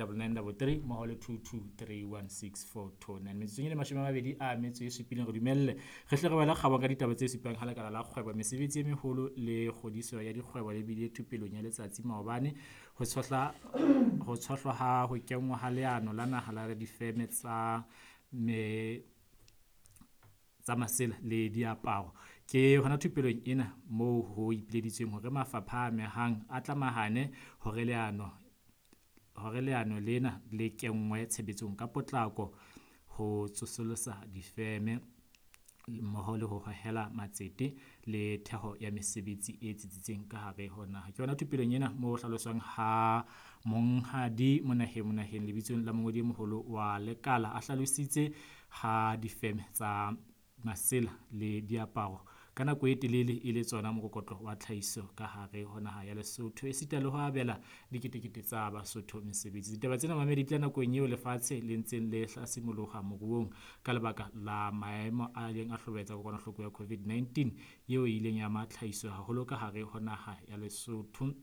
9933 mmoho le 22316429. Metsotsong e le 27 re dumelle re hle re wele kgabong ka ditaba tse supang ha lekala la kgwebo, mesebetsi e meholo le kgodiso ya dikgwebo le bile thupelong ya letsatsi maobane ho tshohlwa ha ho kenngwa ha leano la naha la difeme tsa me tsa masela le diaparo. Ke hona thupelong ena moo ho ipileditsweng hore mafapha a amehang a tlamahane hore leano lena le kenngwe tshebetsong ka potlako ho tsosolosa difeme mmoho le ho hohela matsete le theho ya mesebetsi e tsitsitseng ka hare ho naha. Ke yona thupelong ena moo ho hlaloswang ha Monghadi Monaheng lebitsong la mongodi e moholo wa lekala a hlalositse ha difeme tsa masela le diaparo ka nako e telele e le tsona mokokotlo wa tlhahiso ka hare ho naha ya Lesotho, esita le ho abela diketekete tsa Basotho mesebetsi. Ditaba tsena mamedi di tla nakong eo lefatshe le ntseng le hlasimoloha moruong ka lebaka la maemo a ileng a hlobaetsa kokwanahloko ya COVID-19 eo e ileng ya ama tlhahiso haholo ka hare ho naha ya Lesotho,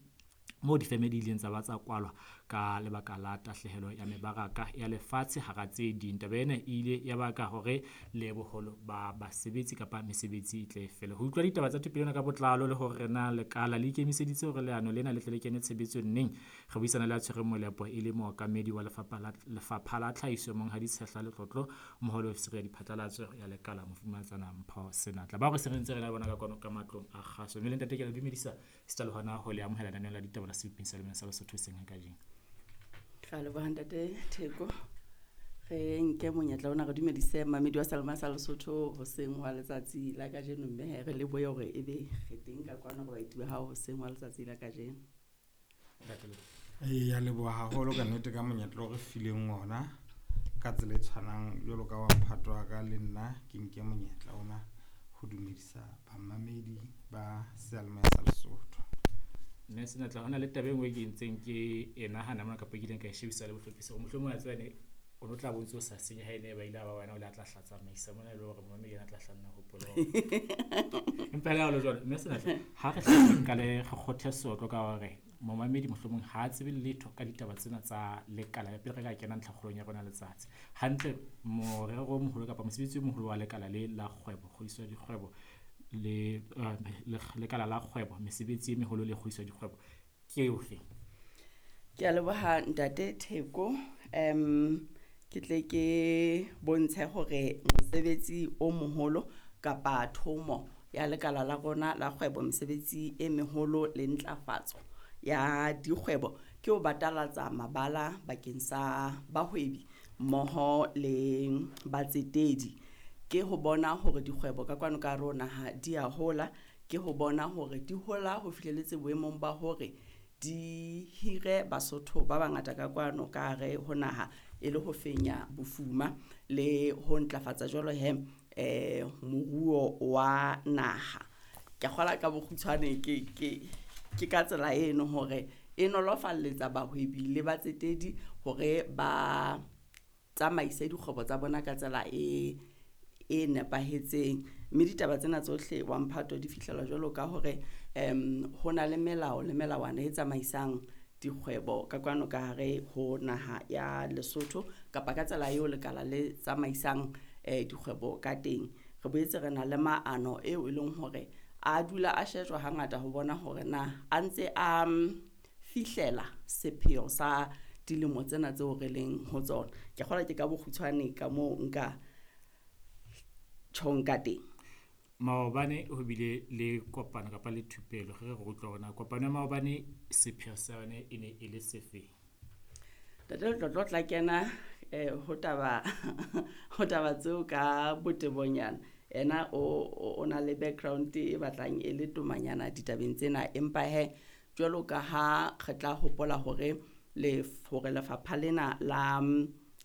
moo difeme di ileng tsa ba tsa kwalwa ka lebaka la tahlehelo ya mebaraka ya lefatshe hara tse ding. Taba ena e ile ya baka hore le boholo ba basebetsi kapa mesebetsi e tle fele. Ho utlwa ditaba tsa thupelo ena ka botlalo le hore na lekala le ikemiseditse hore leano lena le tle le kene tshebetsong neng, re buisana le a tshwereng molepo e le mookamedi wa lefapha la tlhahiso Monghadi Tshehla Letlotlo mmoho le ofisiri ya diphatlalatso ya lekala Mofumahatsana Mpho Senatla, bao re se re ntse re na le bona ka kwano ka matlong a kgaso. Mme le ntate, ke le dumedisa sita le hona ho le amohela lenaneong la ditaba la Sebopeng sa Lemena sa Lesotho hoseng ha kajeno. Ra leboha ntate Theko. Re nke monyetla ona re dumedise mamedi wa Salema sa Lesotho hoseng wa letsatsi la kajeno, mme he re lebohe hore ebe re teng ka kwano re baeti ba hao hoseng wa letsatsi la kajeno. Eya, leboha haholo ka nnete ka monyetla o re fileng ona ka tsela e tshwanang jwalo ka wa mphato wa ka le nna ke nke monyetla ona ho dumedisa bamamedi ba seyalemoya sa Lesotho. Mme Senatla, hona le taba e nngwe ke ntseng ke e nahana mona kapa ke ileng ka e shebisa le bohlophisi hore mohlomong a tseba ne o no tla bo ntso o sa senye ha ene ba ile ba wena o le a tla hla tsamaisa mona e le hore momamedi yena a tla hla nna hopola hore empa le ha ho le jwalo, mme Senatla, ha re hle re qale re kgothe seotlo ka hore momamedi mohlomong ha a tsebe letho ka ditaba tsena tsa lekala pele re ka kena ntlhakgolong ya rona letsatsi. Hantle morero o moholo kapa mosebetsi o moholo wa lekala le la kgwebo, kgodiso ya dikgwebo le lekala la kgwebo, mesebetsi e meholo le kgodiso ya dikgwebo ke ofe? Ke a leboha ntate Theko. Ke tle ke bontshe hore mosebetsi o moholo kapa thomo ya lekala la rona la kgwebo, mesebetsi e meholo le ntlafatso ya dikgwebo ke ho batalatsa mabala bakeng sa bahwebi mmoho le batsetedi. Ke ho bona hore dikgwebo ka kwano ka hare ho naha di a hola, ke ho bona hore di hola ho fihlelletse boemong ba hore di hire Basotho ba bangata ka kwano ka hare ho naha e le ho fenya bofuma le ho ntlafatsa jwalo he moruo wa naha. Ke kgola ka bokgutshwane ke ka tsela eno hore e nolofalletsa bahwebi le batsetedi hore ba tsamaise dikgwebo tsa bona ka tsela e nepahetseng. Mme ditaba tsena tsohle wa mphato di fihlelwa jwalo ka hore ho na le melao le melawana e tsamaisang dikgwebo ka kwano ka hare ho naha ya Lesotho kapa ka tsela eo lekala le tsamaisang dikgwebo ka teng. Re boetse re na le maano eo e leng hore a dula a shejwa hangata ho bona hore na a ntse a fihlela sepheo sa dilemo tsena tseo re leng ho tsona. Ke kgolwa ke ka bokgutshwane ka moo nka tjhong ka teng. Maobane ho bile le kopano kapa le thupelo, re re utlwa hore na kopano ya maobane sepheo sa yona e ne e le sefe? Ntate Letlotlo tla kena ho taba tseo ka botebonyana. Ena o na le background e batlang e le tomanyana ditabeng tsena, empa he jwalo ka ha re tla hopola hore hore lefapha lena la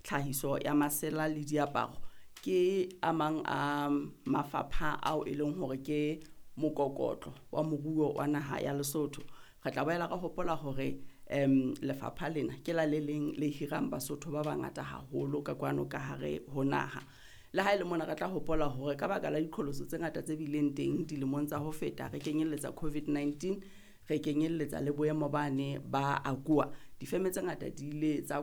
tlhahiso ya masela le diaparo ke a mang a mafapha ao e leng hore ke mokokotlo wa moruo wa naha ya Lesotho. Re tla boela re hopola hore lefapha lena ke la le leng le hirang Basotho ba bangata haholo ka kwano ka hare ho naha. Le ha e le mona re tla hopola hore ka baka la diqholotso tse ngata tse bileng teng dilemong tsa ho feta, re kenyelletsa COVID-19, re kenyelletsa le boemo bane ba AGOA, difeme tse ngata di ile tsa